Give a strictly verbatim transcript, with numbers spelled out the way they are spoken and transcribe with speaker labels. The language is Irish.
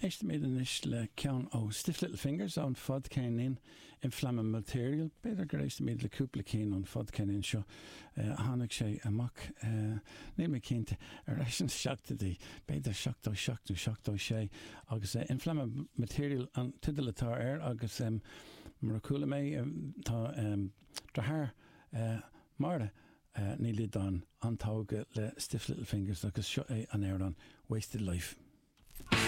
Speaker 1: Éistfimid anois le ceann ó Stiff Little Fingers ón fadcheirnín Inflammable Material, b'fhéidir gur éistfimid le cúpla ceann ón fadcheirnín seo uh, tháinig sé amach uh, níl mé cinnte ar ais sna seachtóidí, b'fhéidir seachtó seacht seachtó sé agus uh, Inflammable Material an teideal atá air agus um, mar a chuala mé um, tá um, deartháir uh, Máire uh, Ní Loideáin an-tógtha le Stiff Little Fingers agus seo é an amhrán Wasted Life.